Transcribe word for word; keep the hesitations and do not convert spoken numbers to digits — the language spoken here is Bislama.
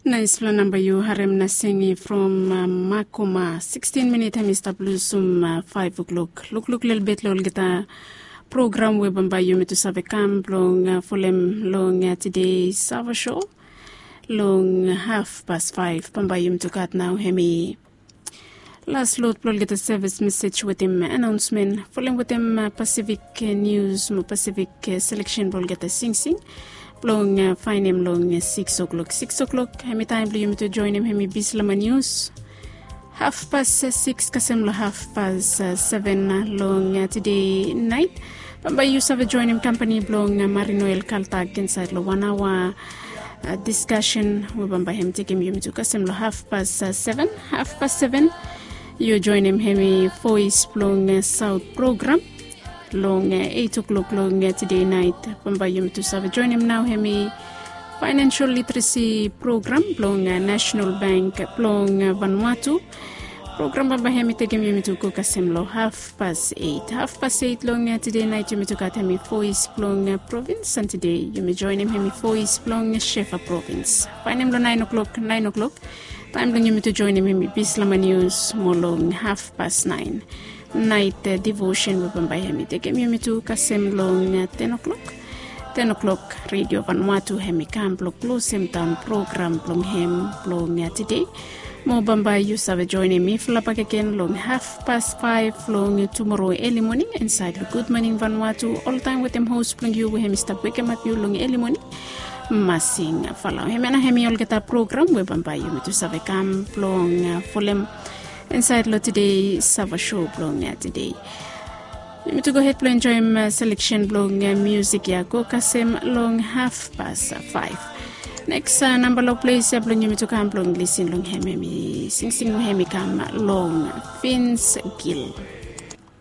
Naispela namba yu harem na singi from makoma. Sikstin minit hem i stap lusum faef oklok. Lukluk lelebet long olgeta program we bambae yumi tu save kam blong folem long tide sava sho. Long haf pas faef bambae yumi tu gat nao hem i las lot blong olgeta sevis mesej wetem anaonsmen folem wetem pasifik nius mo pasifik seleksen blong olgeta singsing blong faenem long siks oklok. Siks oklok hem i taem blong yumi tu joenem hem i bislama nius. Hafpas siks kasem long hafpas seven long tide naet. Bambae yu save joenem kampani blong marinoel kaltak insaed long wan aoa diskasen we bambae hem tekem yumi tu kasem long hafpas seven. Hafpas seven yu joenem hem i voes blong saot program long eit oklok long tide naet. Bambae yumi tu save joenem nao hem i faenensial literesi program blong nasenal bank blong vanwatu. Program bambae hem i tekem yumi tu go kasem long hafpas eit. Hafpas eit long tide naet yumi tu gat hem i voes blong provins an tide yumi joenem hem i voes blong shefa provins. Faenem long naen oklok naen oklok taem blong yumi tu joenem hem i bislama nius mo long hafpas naen naet divosen we bambae hem i tekem yumi tu kasem long ten oklok. Ten oklok redio vanwatu hem i kam blong klosem daon program blong hem blong tide. Mo bambae yu save joenem mifala bakegen long hafpas faef long tumoro eli moning insaed long gudmoning vanwatu oltaem wetem hos blong yu we hem i stap wekemap yu long eli moning. Masing falao hem ya na hem i olgeta program we bambae yumi tu save kam blong folem insaed long tide sava sho blong tide. Yumi tu gohed blong enjoem seleksen blong miusik ya go kasem long hafpas faef. Neks namba long ples ya blong yumi tu kam blong lisin long hem hem i singsing we hem i kam long fins gil.